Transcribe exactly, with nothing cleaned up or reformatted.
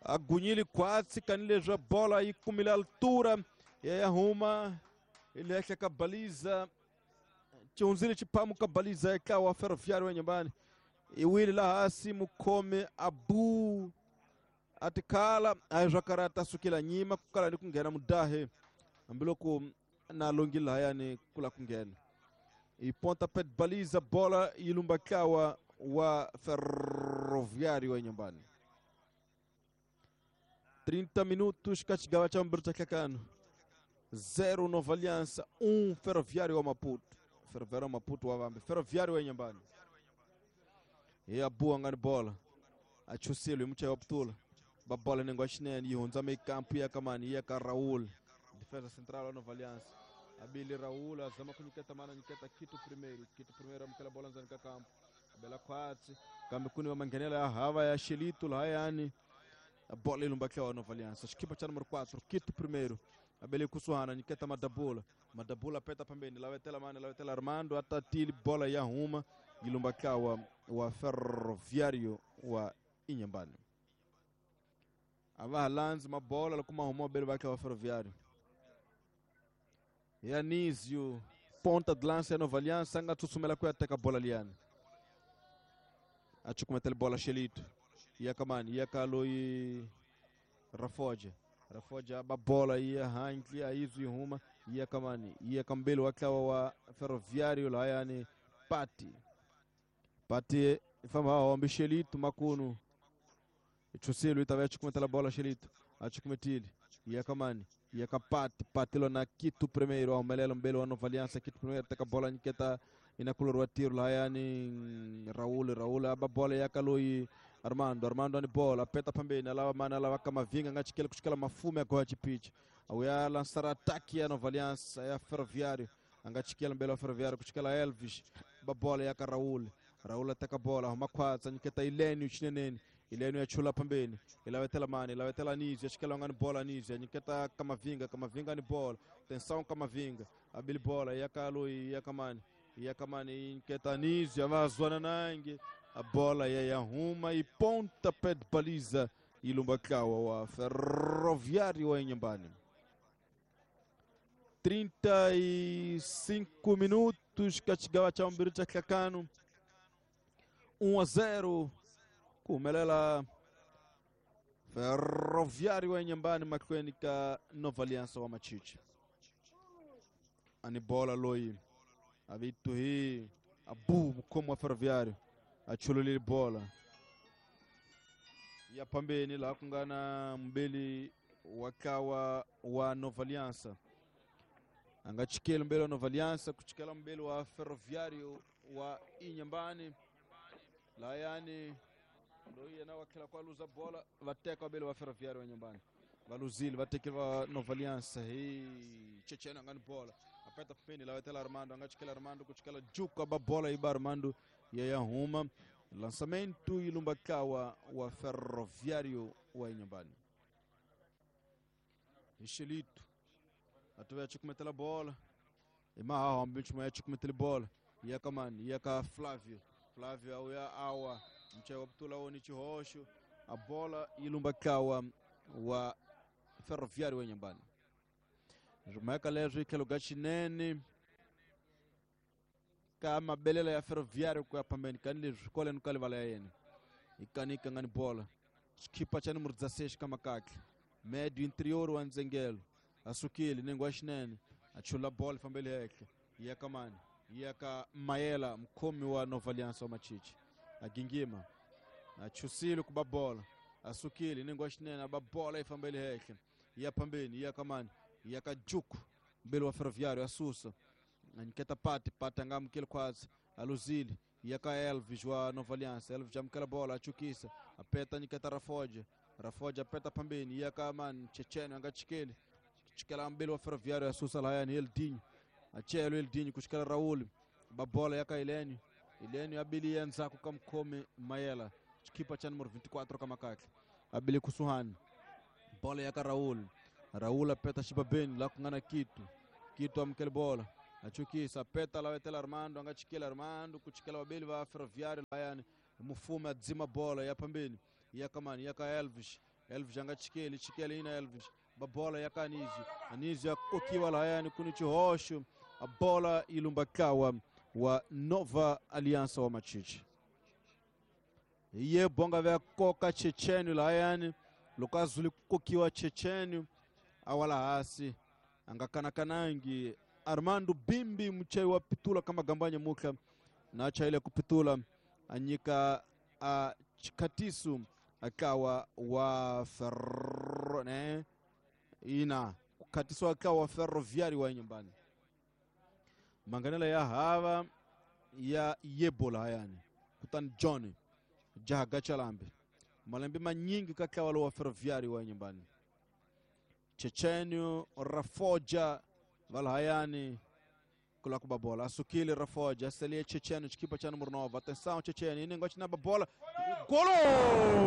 A gunyile khwatsi kanileswi bola yi kumile altura ya ya huma hi le henhla ka baliza, xi hundzile xiphamu ka baliza ya ntlawa wa Ferroviário wa Inhambane. I wile laha hansi, mukhomi Abu a tikhala a hi swa karata, a sukela nyima ku kala ni ku nghena mudahe, hambiloko na longile lahayani ku la ku nghena i pontapé de baliza, bola yi lumba ntlawa wa Ferroviário wa Inhambane. trinta minutos ka xigava xa vumbirhi xa nhlekano, zero Nova Aliança, um Ferroviário wa Maputo. Ferroviário wa Maputo wa vambe Ferroviário wa Inhambane. Hi Abu a nga ni bola, a chusile hi muchayi wa putula ba bola nenge wa xinene, yi hundza mekampu ya ka mani, yi ya ka Raul, defesa central wa Nova Aliança. Abili Raul azama ku nyiketa mana, nyiketa Kito Primeiro. Kito Primeiro amukela bola ndzeni ka kampu, abela khwatsi, kambe ku ni va manghenela ya hava ya Xelito lahayani. A bola yi lumba ntlawa wa Nova Aliança, xikipa xa número quatro, Kito Primeiro, abele kusuhana, nyiketa Madabula. Madabula peta pambeni, lavetela mani, lavetela Armando, atatili, bola ya huma, yi lumba ntlawa wa Ferroviário wa Inhambane. A va ha landzi mabola loko ma huma vabeli va ntlawa wa Ferroviário. Yanisio, ponta de lança ya Nova Aliança, a nga tsutsumela ku ya teka bola liyani, a cukumetela bola Xelito, ya ka mani, ya ka loyi Rafoja. Rafoja ba bola yi ya handle, a yi zwi huma, yi ya ka mani, yi ya ka mbeli wa ntlawa wa Ferroviário lahayani, Pati. Pati famba hombe Xelito makunu chusilo, yi ta va ya cukumetela bola Xelito, a cukumetile, yi ya ka mani, yi ya ka Pati. Pati lona Kito Primeiro, a humelela mbeli wa Nova Aliança. Kito Primeiro teka bola, nyiketa inakulori wa tiro lahayani Raul. Raul aba bola ya ka loyi Armando. Armando ani bola, apeta pambeni, alava mani, alava Kamavinga, nga chikela kuchikela mafume ya goya chipicha, auya lançar ataque ya Nova Aliança ya Ferroviário, anga chikela mbele wa Ferroviário kuchikela Elvis, ba bola ya ka Raul. Raul ateka bola, huma khwatsa, nyiketa Ilênio chineneni. Ilênio ya chula pambeni, ilavetela mani, ilavetela Anísio, achikela ngani bola Anísio, nyiketa Kamavinga. Kamavinga ni bola, tensão Kamavinga, abili bola ya ka loyi, ya ka mani, ya ka mani, nyiketa Anísio, avazwana nange, a bola ya ya huma e pontapé de baliza, ilumba ntlawa wa Ferroviário wa Inhambane. trinta e cinco minutos ka xigawa xa vumbirhi xa nhlekano, um a zero ku humelela Ferroviário wa Inhambane mahlweni ka Nova Aliança wa Machichi. Ani bola loyi a vito hi Abu, mukhomi wa Ferroviário, a chululile bola ya pambeni laha ku nga na mbeli wa ntlawa wa Nova Aliança, a nga chikeli mbeli wa Nova Aliança ku chikela mbeli wa Ferroviário wa Inhambane lahayani, loyi yena wa tlhela ku a luza bola, va teka vabeli wa Ferroviário wa Inhambane, va luzile, va tekile va Nova Aliança hi Chechena, nga ni bola, apeta pembeni, lavetela Armando, a nga chikela Armando ku chikela Juka, ba bola yi ba Armando ya ya huma, lançamento yi lumba ntlawa wa Ferroviário wa Inhambane. Hi Xelito, atuve ya cukumetela bola, i mahaha hambi nchumu ya cukumetele bola ya ka mani, ya ka Flávio. Flávio auya awa mchayi wa putula woni xihoxo, a bola yi lumba ntlawa wa Ferroviário wa Inhambane. Mhaka leswi hi tlhelo ka xinene ka mabelela ya Ferroviário ku ya phambeni kani leswi kwaleno ka livala ya yena hi kanika nga ni bola, xikipa xa numero dezesseis ka makatla, médio interior wa ndzengelo, a sukile nenge wa xinene, a chula bola, fambele henhla, yi ya ka mani, yi ya ka Mayela, mukhomi wa Nova Aliança wa Machichi, a gingima, a chusile ku ba bola, a sukile nenge wa xinene, a ba bola, yi fambele henhla, yi ya phambeni, yi ya ka mani, yi ya ka Juku, mbeli wa Ferroviário, a susa, a nyiketa Pati. Pati a nga amukeli khwatsi, a luzile, yi ya ka Elvis wa Nova Aliança. Elvis amukela bola, a chukisa, a peta, nyiketa Rafoja. Rafoja peta pambeni, yi ya ka mani, Checheno, a nga chikeli, chikela mbeli wa Ferroviário, a susa lahayani Eldinho, a chelo Eldinho ku chikela Raul, ba bola ya ka Ilênio. Ilênio abili ya ndzhaku ka mukhomi Mayela, xikipa xa numero vinte e quatro ka makatla, abili kusuhani, bola ya ka Raul. Raul apeta xibabeni laha ku nga na Kito. Kito amukele bola, Achukisa peta la wetela Armando anga chikela Armando kuchikela wabeli va Ferroviário layani mufume adzima bola ya pambeni ya kamani ya ka Elvis Elvis anga chikeli chikeli ina Elvis babola ya Kanizio Anizio akokiwa layani kuni chihosho a bola ilumbakawa wa Nova Aliança wa Machichi iye bonga vya koka Chechenu layani lokazuli kokiwa Chechenu awala hasi angakanakanangi Armando Bimbi mchai wa pitula kama gambanya muka na acha ile kupitula anyika a chikatisu akawa wa ferro ne ina kukatisu akawa wa Ferroviário wa nyumbani manganela ya hava ya yebola yani kutani John jahaga chalambi malembe manyingi kakawa wa Ferroviário wa nyumbani Chechenio Rafoja valhayani kula kuba bola asukile Rafoja aselie Checheno chikipa cha número nove. Atenção Checheno inengo china bola golo.